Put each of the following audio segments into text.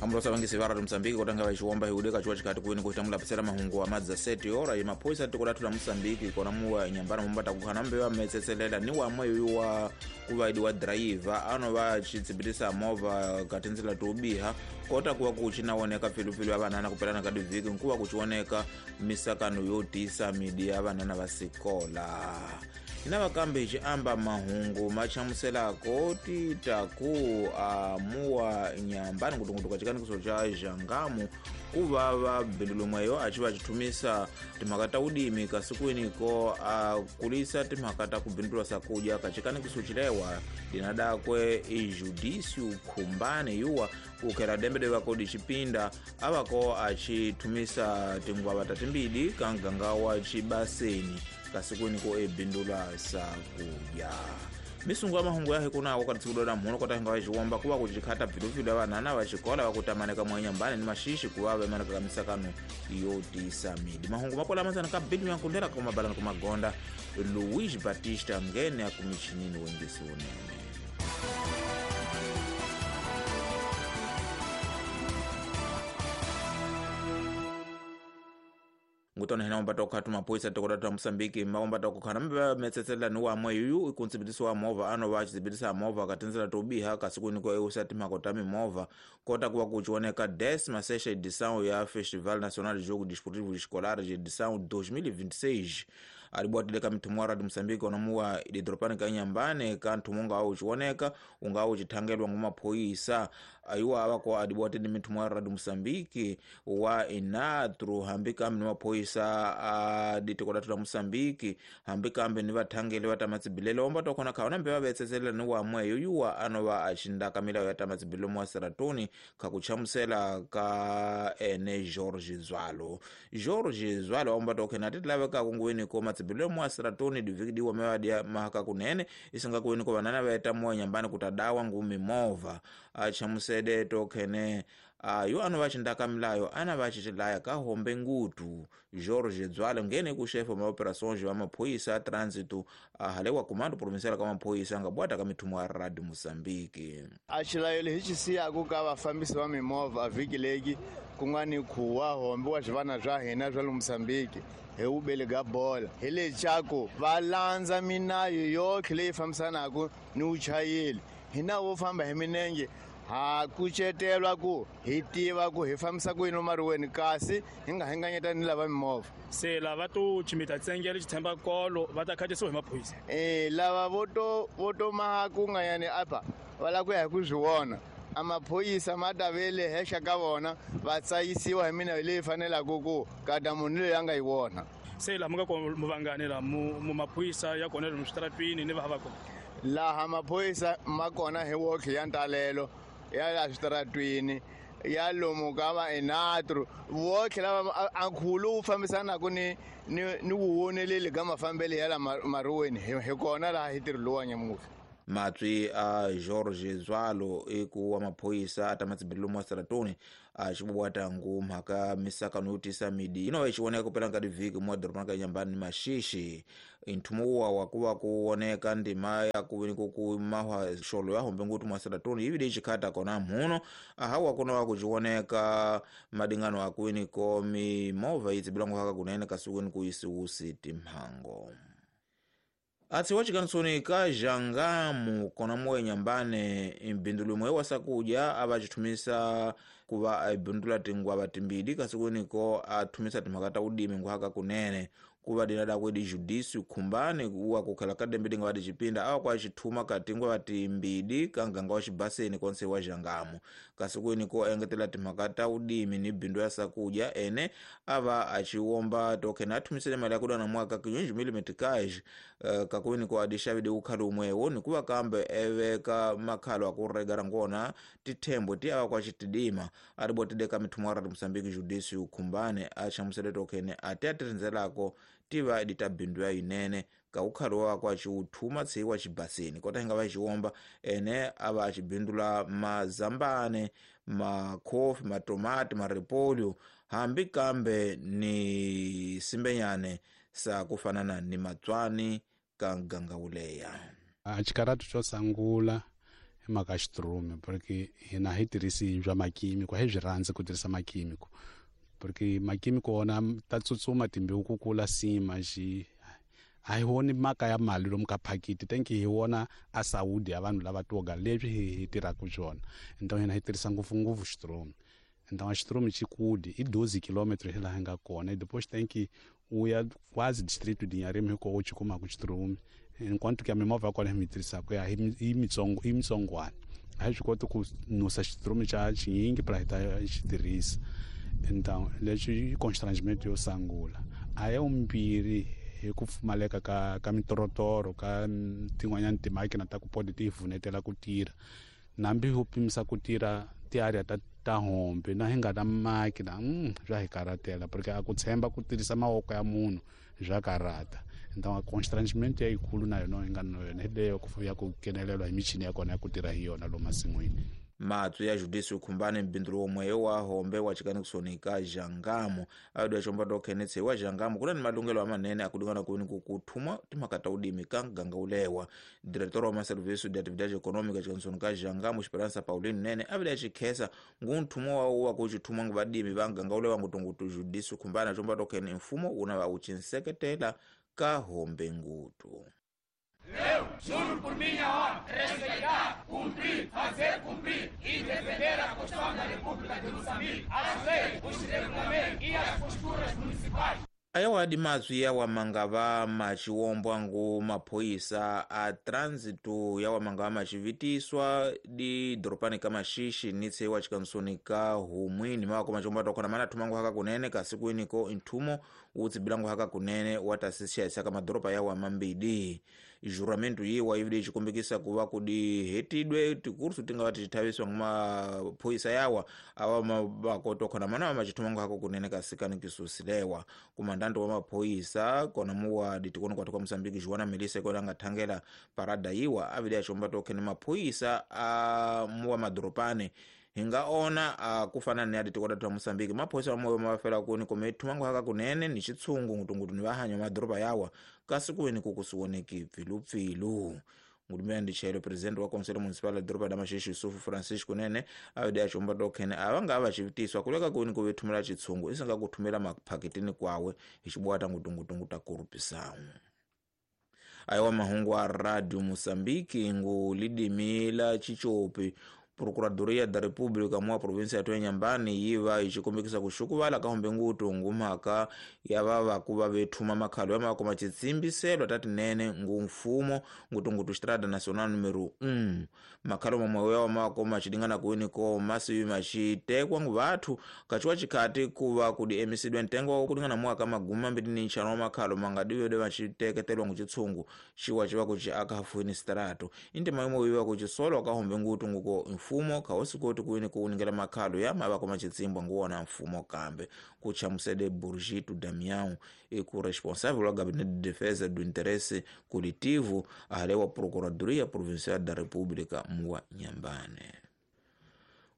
Ambulosa vangisi va Radio Mozambique kotanga va xiwomba hi udeka chuwa chikati kuini kuhitangula pisela mahungu wa madza seti ora yi maphoyisa tiko lathu la Mozambique kona muwa nyambana mumbata kukhana mbe metsetselela ni wamwe yuwa kuvaidi wa driver ano va chitsibitisa movha katinzila tobiha kota kuwa kuchinaoneka pfilupilu ya vanana kupelana ka divhiki nkuva kuchioneka misakano yo tisa midi ya vanana va sikola. Ina vakambe hi xiamba mahungu machamuselako titaku amuwa nyambani kutungutuka chikanikiso cha Xangamu kuva va bindulumweyo achi va chithumisa timhaka ta udimi kasikwiniko a kulisa timhaka ta kubindulwa sakudya kachikanikiso chilewa dinadakwe i Judício Khumbane yuwa kukhela dembede vakodi chipinda avako achithumisa tingwava tatimbidi ka mganga wa chibaseni kasikwiniko ebindula sakudya. Misungu ya mahungu yahe kunako katsikudona mhuno kotahinga va xiwomba kuva kuchikhata pfilupilu ya vanana va xikola va kutamaneka mwenyambani ni maxixi kuva vemaneka ka misakano yo tisa midi. Mahungu mapola masana ka bidu yankundela kumabalani kumagonda Luis Batista ngene akumichinini wengisi unene. Ngutona hina ombata okhatu maphoyisa tiko lathu la Mozambique maombata okukhana mbe metsetselela ni wamwe yuyu ikuntsibitisa wa movha ano va chitsibitisa movha katinzela tobiha kasikwiniko eusa timhaka ta mimovha kota kuva kuchioneka 16ª edição ya Festival Nacional de Jogo Desportivo Escolar de edição 2026 alibwatile ka mithumu wa Radio Mozambique onamuwa ididropani ka Inhambane ka nthumu ungawu uchioneka ungawu uchithangelwa ngumaphoyisa ayuwa avako adibwatile mithumu wa Radio Mozambique wa inatru hambi kambe ni maphoyisa a ditiko lathu la Mozambique hambi kambe ni vathangeli va tamatsibilelo omba tokhona khaona mbe va vetsetselela ni wamweyo yuwa anova axindaka milawu ya tamatsibilelo mwa Seratoni kha kuchamusela ka ene George Zwalo. George Zwalo omba tokhena ati kunguweni ko matsibilelo mwa Seratoni diviki diwa mewadia mahaka kunene isinga kuweni ko vanana vaeta moya nyambani kutadawa ngumi movha achamusede tokhene ayo ano vachindaka milayo ana vachicilaya ka hombe ngutu. George Zwalo ngene ku chefe ma operações wa maphoyisa a trânsito ahalewa comando provincial ka maphoyisa nga bwata ka mithumu ya Radio Mozambique. A xilayo lexi xisiyaku ka vafambisi va mimovha a vhiki leki ku nga ni khuwa hombe wa swivana swa hina swa le Mozambique hi wubeli ga bola hi leswaku va landza minayo yotlhe leyi fambisanaka ni vuchayeri. Hina wo famba hi minenge ha kucetelwa ku hi tiva ku hi fambisa ku yini mariweni kasi hi nga hinganyeta ni lava mimovha. Se lava to chimita tsengele xithemba kolo va ta khatisiwa hi maphorisa. Lava vo to maha ku nga yani apa va lava ku ya hi ku swi vona a maphorisa ma ta ve le henhla ka vona va tsayisiwa hi mina leyi fanelaka ku kata munhu loyi a nga yi vona. Se laha mu nga kona muvangani laha mu maphorisa ya kona lomu switaratwini ni va va kona laha maphorisa ma kona hi wotlhe ya ntalelo ya la switaratwini ya lomu ka va enatru votlhe lava a nkhulu wu fambisanaka ni vuwoneleli ka mafambelo ya la mariweni hi kona laha hi tirhi lowa nyamuhla. Matswi a George Zwalo eku wa maphoyisa a tamatsibilelo mwa Seratoni a xibwata ngu mhaka misakano yo tisa midi ino va xi kupela ka divhiki mwa dorobani ka Inhambane ni maxixi nthumu wa wa kuva ku woneka ndima ya ku ni ku mahwa xolo ya hombe ngutu mwa Seratoni yi vile xikhata kona mhuno ahawa kuna wa ku xioneka madingano akwini ko mimovha yi tsibilangu haka kunene kasikwini ku yisiwusi timhango. Atsi wachikansoni ka Xangamu kona moya Inhambane mbindulu mwe wasakudya avachithumisa kuva aibindula tingwava timbidi kasikwiniko athumisa timhaka ta udimi nguhaka kunene kuva dinada kwedi Judício Khumbane uwa kukhela ka dembe dinga vadi chipinda awa kwa chithuma ka tingwava timbidi ka nganga wa xibaseni konse wa Xangamu kasikwiniko engetela timhaka ta udimi ni bindu ya sakudya ene ava achiwomba tokhena athumisele mali ya kudana mwaka 500 meticais kakwiniko adixavide ukhali umwewo nikuva kambe eveka makhalo akurega rangona tithembo ti ava kwa xitidima aribotide ka mithumu wa Radio Mozambique Judício Khumbane achamusele tokhene ati atirindzelako tiva edita bindu ya yinene ka ukhali wa kwa xiuthuma tshiwa xibaseni kota hinga va xiwomba ene ava axibindula mazambane makhofi matomati maripolyo hambi kambe ni simbenyane sa kufanana ni matswani ka nganga wuleya. A xikaratu xo sungula I mhaka ya xiturume, porque hina hi tirhisi bya makimiko, a hi byi rhandzi ku tirhisa makimiko, porque makimiko wona ta tsutsuma timbewu ku kula sima xi a hi voni mhaka ya mali lomu ka phakiti. Thank hi wona a saudi ya vanhu lava toga leswi hi tirhaka swona. Então hina hi tirhisa ngopfungopfu xiturume. Então a xiturume xi kudi i 12 km hi laha hi nga kona, e depois tem que u ya quase distrito de Inharime hi kona u xi kumaka xiturume, enquanto que a mimovha ya kona hi mi tirhisaka ya i mitsongo, i mitsongwana, a hi swi koti ku nusa xiturume xa xinyingi pra hi ta xi tirhisa. Então leswi i constrangimento yo sungula. A ya vumbirhi hi ku pfumaleka ka mitorotoro ka tin'wanyana timakina ta ku pode ti hi pfunetela ku tirha, nambi ho pimisa ku tirha tiarea ta hombe na hi nga na makina, swa hi karhatela, porque a ku tshemba ku tirhisa mavoko ya munhu swa karhata. Então a constrangimento ya yikulu na yona hi nga na yona hi leyo ya ku nghenelelwa hi michini ya kona ya ku tirha hi yona lomu masin'wini. Matsu ya Judisi Khumbane mbindzu womwe wa hombe wa chikanikisoni ka Jangamo ayo chomba do Kenneth wa Jangamo kuna ni malungelo amanene akudingana kuni kukuthuma timhaka ta udimi ka muganga ulewa. Diretor wa maserviço de atividade econômica chikanikisoni ka Jangamo Esperança Pauline Nene avile achikhesa ngunthumo wa wa kuchithuma ngu vadimi va muganga ulewa ngutungutu Judisi Khumbane chomba do Kenneth mfumo una va uchinseketela ka hombe ngutu. Eu juro por minha honra respeitar, cumprir, fazer cumprir e defender a Constituição da República de Moçambique, as leis, os regulamentos e as posturas municipais. Ayawadi mazwi yawa mangava machiwombwa ngu maphoyisa a trânsito yawa mangava machivitiswa di doropani ka Maxixe nitse wa chikansoni ka Humwini mawako machomba tokona mana thumangu haka kunene kasiku iniko nthumo utsibilangu haka kunene wa tasisi ka madoropa yawa mambidi. Juramento yiwa ivile chikumbikisa kuva kudi hetidwe tikursu tingava tichithaviswa ngumaphoyisa yawa awa mabakotokona mana machithumangu hako kunene kasikani kisusilewa. Kumandando wa maphoyisa kona muwa ditikono kwathu kwa Mosambiki Joana Melissa kona angathangela parada yiwa avile achomba tokhene maphoyisa a muwa madoropane hingaona kufana ni adi tikota twa Mosambiki maphoyisa wamoyo mawafela kuni kome thumangu haka kunene ni chitsungu ngutungutu ni vahanyo madoropa yawa kasi kuweni kukusiwoneki pfilupfilu. Ngulumela ndichelo presidente wa Conselho Municipal da Doropa da Maxixe Yusufu Francisco Nene awede achomba tokhene avanga avachivitiswa kuleka kuni kuvethumela chitsungu isinga kuthumela maphaketini kwawe hichibwata ngutungutungu ta kurupisawu. Ayiwa mahungu a Radio Mosambiki ngu lidimila chichopi Procuradoria da República mwa província ya Inhambane yiva ichikombekisa kuxukuvala ka hombe ngutu ngumhaka ya vava kuva vethuma makhalo ya makoma chitsimbiselo tatinene ngu mfumo ngutungutu Estrada Nacional número 1. Makhalo mamwe yawa makoma chidingana kuini ko masiwi machitekwa ngu vathu kachiwa chikhati kuva kudi emisidwe ntengo wa kudingana mwaka magumi mambiri ni nxanu wa makhalo mangadiwede machiteketelwa ngu chitsungu chiwa chiva kuchi akahafuini strato intima imwe yiva kuchisolwa ka hombe ngutu nguko mfumo khaosikoti kuini kuuningela makhalo ya mavako machitsimbwa nguwona mfumo kambe kuchamusede Burgito Damião iku responsável wa Gabinete de Defesa do Interesse Coletivo ahalewa Procuradoria Provincial da República muwa Inhambane.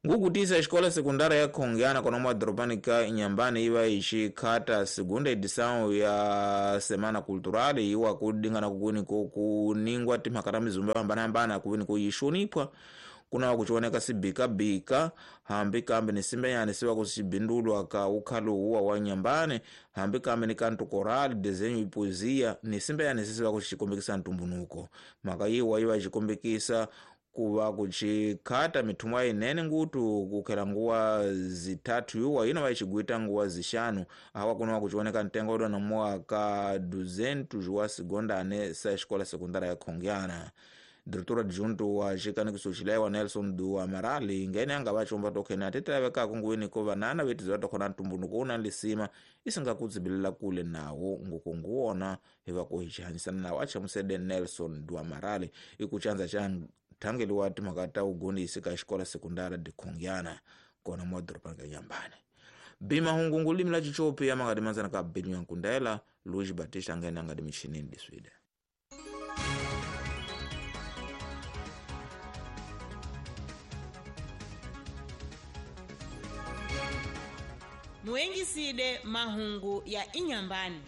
Ngukutisa escola secundária ya Khongiana kona mwa doropani ka Inhambane iva ichikhata segunda edição ya Semana Cultural iwa kudingana kukuni kuningwa timhaka ta mizumba yo hambanahambana kuvini kuyixonipwa kuna kuchioneka sibikabika hambi kambe ni simbenyani siva kusibindulwa ka ukhalo uwa wa Inhambane hambi kambe ni kanto coral desenho e poesia ni simbenyani sisiva kuchikombekisa ntumbunuko. Mhaka yiwa iva ichikombekisa kuva kuchikhata mithumwa inene ngutu kukhela nguwa zithathu yuwa ino vaichigwita nguwa zixanu awa kunowa kuchioneka ntengo udwa nomuwa ka 200 wa segondane sa escola secundária ya Khongiana. Diretor adjunto wa xikanikiso xilewa Nelson do Amaral ngene anga vachomba tokhene atitelavekaka nguwini ko vanana vetiziwa tokhona ntumbunuko una lisima isinga kudzibilela kule nawo nguko nguwona hiva ku hixihanyisana nawo achamusede Nelson do Amaral ikuchanza xa nthangeliwa timhaka ta ugondisi ka xikola sekundara de Khongiana kona mwa doropani ka Inhambane. Bima hungu limi la chichopi ya mangadi manzana ka Benyu Nkundela Luiz Batista ngene angadi michinini diswide. Muengiside mahungu ya Inhambane.